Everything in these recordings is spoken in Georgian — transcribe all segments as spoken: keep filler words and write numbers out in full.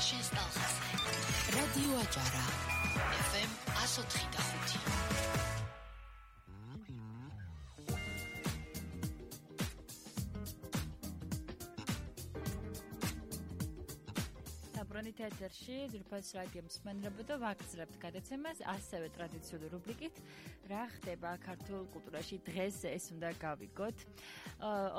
შენს ტალღაზე. რადიო აჭარა. ეფ ემ one oh three point five. საბრუნით ეთერში ძვირფას რადიო მსმენელებო და ვაგრძელებთ გადაცემას ასევე ტრადიციული რუბრიკით რა ხდება ქართულ კულტურაში დღეს ეს უნდა გავიგოთ.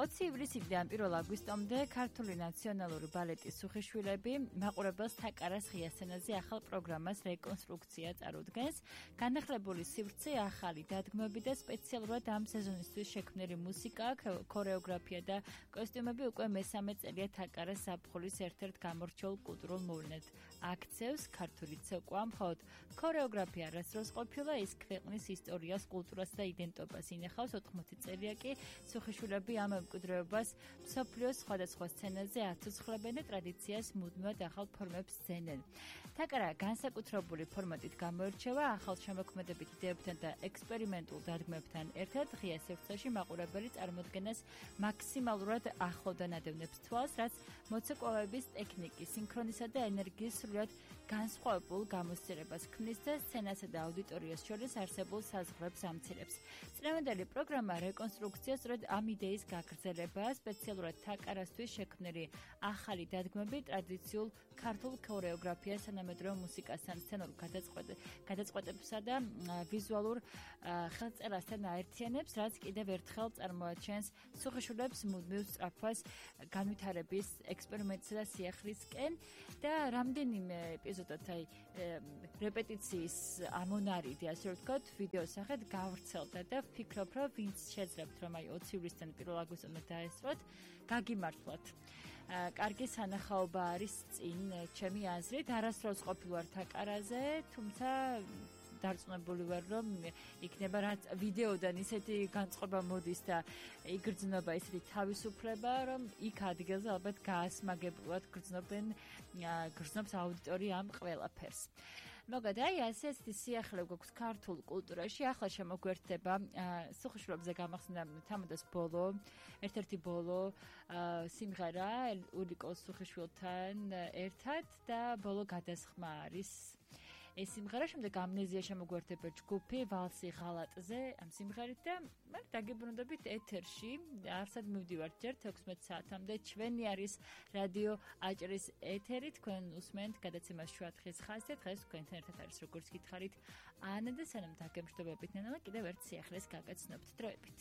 ოცი ივლისიდან პირველ აგვისტომდე ქართული ნაციონალური ბალეტის სუხიშვილები მაყურებელს თაკარას ღია სცენაზე ახალ პროგრამას რეკონსტრუქცია წარუდგენს. განახლებული სივრცე, ახალი დადგმები და სპეციალურად ამ სეზონისთვის შექმნილი მუსიკა, ქორეოგრაფია და კოსტიუმები უკვე მესამე წელია თაკარას ზაფხულის ერთ-ერთ გამორჩეულ კულტურულ მოვლენად აქცევს ქართული ცეკვა, მხოლოდ ქორეოგრაფია არასდროს ყოფილა, ის ქვეყნის ისტორიას, კულტურას და იდენტობას ინახავს. ოთხმოცი წელია კი სუხიშვილები ამ მემკვიდრეობას მსოფლიოს სხვადასხვა სცენაზე აცოცხლებენ და ტრადიციას მუდმივად ახალ ფორმებს ძენენ. თაკარა განსაკუთრებული ფორმატით გამოირჩევა ახალ შემოქმედებით იდეებთან და ექსპერიმენტულ დადგმებთან ერთად ღია სივრცეში მაყურებელი წარმოდგენას მაქსიმალურად ახლოდან ადევნებს თვალს, რაც მოცეკვავების ტექნიკის, სინქრონისა და ენერგიის სრულად განსხვავებულ გამოსცემებას ქმნის და სცენასა და აუდიტორიას შორის არსებულ საზღვრებს ამცირებს. წლევანდელი პროგრამა რეკონსტრუქცია სწორედ ამ იდეის გაგრძელებაა, სპეციალურად თაკარასთვის შექმნილი ახალი დადგმები ტრადიციულ ქართულ ქორეოგრაფიას, თანამედროვე მუსიკასთან, სცენურ გადაწყვეტებსა და ვიზუალურ ხელწერასთან აერთიანებს, რაც კიდევ ერთხელ წარმოაჩენს სუხიშვილებს მუდმივ სწრაფვას განვითარების ექსპერიმენტსა და სიახლისკენ და რამდენიმე ეპიზოდად აი რეპეტიციის ამონარიდი, ასე ვთქვათ, ვიდეო სახედ გავრცელდა და ვფიქრობ, რომ ვინც შეძლებთ, რომ აი ოცი ივლისიდან პირველ აგვისტომდე დაესწროთ, გაგიმართლოთ. კარგი სანახაობა არის წინ, ჩემი აზრით, არასდროს ყოფილი ვარ თაკარაზე, თუმცა დარწმუნებული ვარ, რომ იქნება რაც ვიდეოდან ისეთი განწყობა მოდის და იგრძნობა ისეთი თავისუფლება, რომ იქ ადგილზე ალბათ გაასმაგებლად გრძნობენ გრძნობს აუდიტორია ამ ყველაფერს. მოგად, აი ასეთი სიახლე გვაქვს ქართულ კულტურაში, ახლა შემოგვერთდება სუხიშვილებზე გამახსენდა თამადას ბოლო, ერთ-ერთი ბოლო სიმღერა ულიკო სუხიშვილთან ერთად და ბოლო გადასხმა არის ეს სიმღერა, შემდეგ ამნეზია შემოგვერთება ჯგუფი ვალსი ღალატზე ამ სიმღერით და მე დაგებრუნდებით ეთერში, არსად მივდივართ ჯერ თექვსმეტ საათამდე, ჩვენი არის რადიო აჭრის ეთერი, თქვენ უსმენთ გადაცემას შუადღის ხაზზე, დღეს თქვენთან ერთად არის როგორც გითხარით ანა და სანამ დაგემშვიდობებით ნანა, კიდევ ერთ სიახლეს გაგაცნობთ დროებით.